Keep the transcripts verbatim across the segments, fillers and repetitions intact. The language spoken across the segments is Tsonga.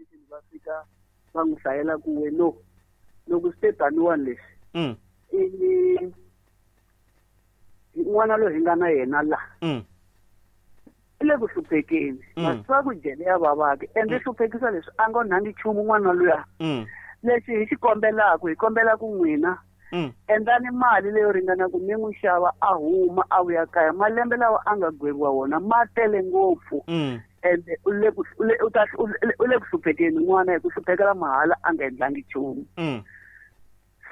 station va fika va n'wi hlayela ku we no loko swi te taniwani leswi Mm. i n'wana loyi hi nga na yena la Mm. i le ku hluphekeni Mm. ma swi tiva ku jele ya vavaki ende hluphekisa leswi a nga onhangi nchumu n'wana luya Mm. lexi hi xi kombelaku hi kombela ku n'wina Mm. endlani mali leyo ringana ku mi n'wi xava a huma a vuya kaya malembe lawa a nga gweviwa wona ma tele ngopfu Mm. ende u le ku u le u ta u le- u le ku hluphekeni n'wana hi ku hluphekela mahala a nga endlangi nchumu Mm.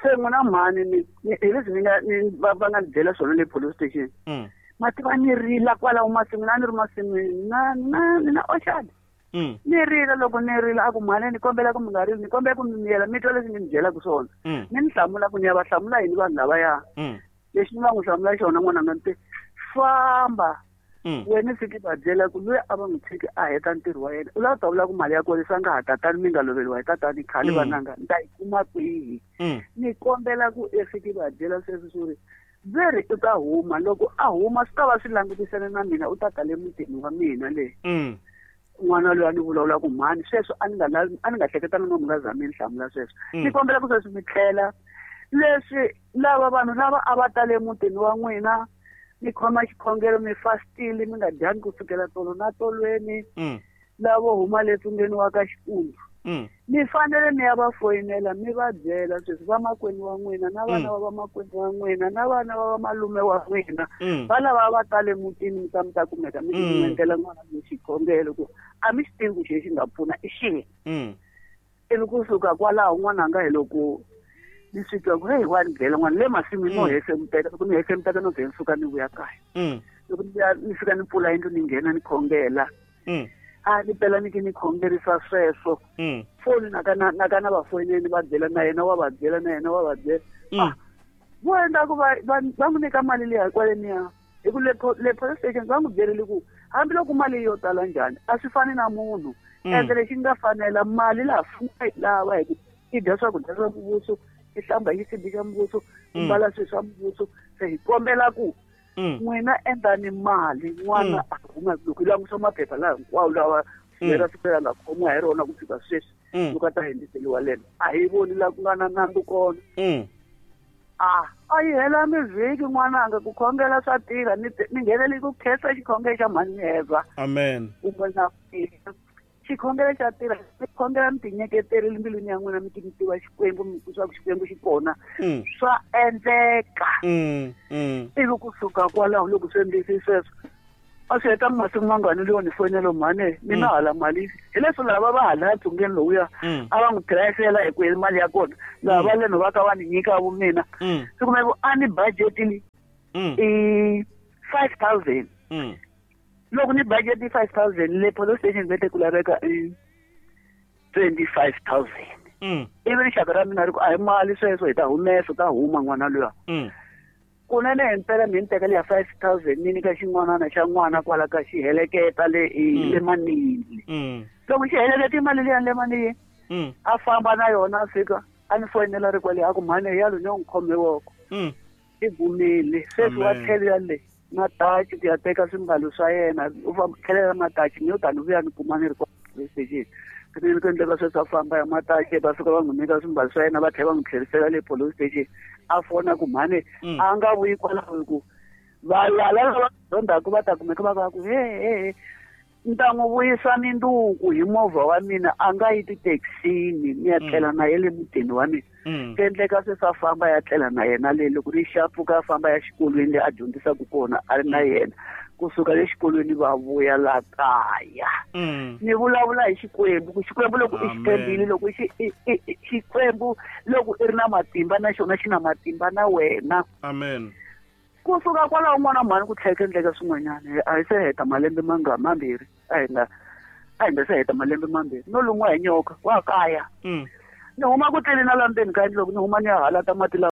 se n'wina mhani ni ni- hi leswi ni nga ni va va nga ni byela swona le police station Mm. ma tiva ni rila kwalaho masin'wini a ni ri masin'wini na na ni na orchard Mm. ni rila loko ni rila a ku mhani ni kombela ku mi nga rili ni kombela ku mi miyela mi twa leswi ni mi byelaka swona Mm. ni ni hlamula ku ni ya va hlamula yini vanhu lavaya Mm. lexi ni va n'wi hlamula xona n'wananga ni te famba Mm. wena fiki va byela ku loyi a va n'wi tshiki a heta ntirho wa yena u lava ku ta vula ku mali ya kona leswi a nga ha tatani mi nga loveriwa hi tatani khale Mm. vananga ni ta yi kuma kwihi Mm. ni kombela ku e fiki va byela sweswo swo ri ve ri u ta huma loko a huma swi ta va swi langutisene na mina u ta ta le mutini wa mina le Mm. n'wana loyi a ni vulavula ku mhani sweswo a ni nga lavi a ni nga hleketanga no mi nga za mi ni hlamula sweswo Mm. ni kombela ku sweswi mi tlhela leswi lava vanhu lava a va tale emutini wa n'wina mi khoma xikhongelo mi fastile mi nga dyangi ku sukela tolo na tolweni Mm. lavo huma le tsungeni wa ka Xikundu Mm. mi fanele mi ya va foyinela mi va byela sweswi vamakwenu wa n'wina na vana Mm. va vamakwenu wa n'wina na vana va vamalume wa n'wina Mm. va lava va tale mutini mi ta mi ta kumeka mi Mm. mi endlela n'wana mi xikhongelo ku a mi xi tivi ku xi xi nga pfuna i xihi Mm. ivi kusuka kwalaho n'wananga hi loko ni swi twa ku heyi wa ni byela n'wana le masin'wini no Mm. hefemuteka loko ni hefemuteka no ze ni suka ni vuya kaya Mm. loko ni vuya ni fika ni pfula yindlu ni nghena ni khongela Mm. a ni pela ni ki ni khongerisa sweswo Mm. foni naka na naka na va foyineni va byela na yena wa va byela na yena wa va byela Mm. Ah, vo endla ku va va va n'wi nyika mali liya kwaleniya hi ku le po- le police station va n'wi byerile ku hambiloko mali yo tala njhani a swi fani na munhu Mm. ende lexi nga fanela mali laha fuma yi lava hi ku i dya swakudya swa muvhuso i hlamba hi xisibi xa muvhuso i Mm. mbala swilo swa muvhuso se hi kombela ku Mm. n'wina endlani mali n'wana Mm. a huma loko hi langusa maphepha laha hinkwawo lawa Mm. lera siku leri a nga khomiwa hi rona ku fika sweswi Mm. loko a ta hundziseriwa lembe a hi voni laha ku nga na nandzu kona Mm. a a yi hela mivhiki n'wananga ku khongela swa tirha ni te- ni nghenele ku khensa xikhongelo xa mhani Eva Amen. kumbe na xikhongelo xa tirha mi khongela mi tinyeketerile mbilwini ya n'wina mi ti mi tiva Xikwembu mi swa ku Xikwembu xi kona Mm. swa endleka Mm. Mm. ivi kusuka kwalaho loko swi endlisi sweswo a swi heta masiku mangani leyo ni foyinela mhani mina Mm. hala mali hi leswi lava va hala tsungeni lowuya Mm. a va n'wi tirhisela hi ku hi mali ya kona laha Mm. va leno va ka va ni nyika vu mina Mm. swi kumeka ku a ni budgetini Mm. i five thousand Mm. loko ni budget five thousand le police station va te ku laveka i twenty five thousand Mm. ivi rixaka ra mina ri ku a hi mali sweswo hi ta humesa u ta huma n'wana luya Mm. kunene hi mpela mi ni tekela ya five thousand ni nyika xin'wanana xa n'wana kwala ka xi heleketa le i- Mm. le manini Mm. loko xi heleketa imali liya le manini Mm. a famba na yona a fika a ni foyinela ri kwale a ku mhani yalo ni yo n'wi khome voko Mm. i gumile sweswi wa Amen. tlhelela le matachi ku ya teka swimbalo swa yena u famba tlhelela matachi ni yo tani vuya ni kuma ni ri kwa police station ni ku endleka sweswi a famba ya matachi va fika va n'wi nyika swimbalo swa yena va tlhela va n'wi tlherisela le police station a fona ku mhani Mm. a nga vuyi kwalaho hi ku valala lava zondaku va ta kumeka va va ku he he he ni ta n'wi vuyisa minduku hi movha wa mina a nga yi tithekisini ni ya Mm. tlela na ye le mutini wa mina Mm. swi endleka sweswi a famba ya tlela na yena le loko ri xa pfuka a famba ya xikolweni le a dyondzisaka kona a ri na yena kusuka le xikolweni va vuya la kaya Mm. ni vulavula hi Xikwembu ku Xikwembu loko i xi Amen. tshembile loko xi i- i- i- Xikwembu loko i ri na matimba na xona xi na matimba na wena Amen. kusuka kwalaho n'wana mhani ku tlhela ku endleka swin'wanyana a hi se heta malembe manga mambirhi a hi nga a hi nga se heta malembe mambirhi no lun'wa hi nyoka wa kaya Mm. ni huma ku tleleni na la ndzeni ka yindlu loko ni huma ni ya halata mati lawa.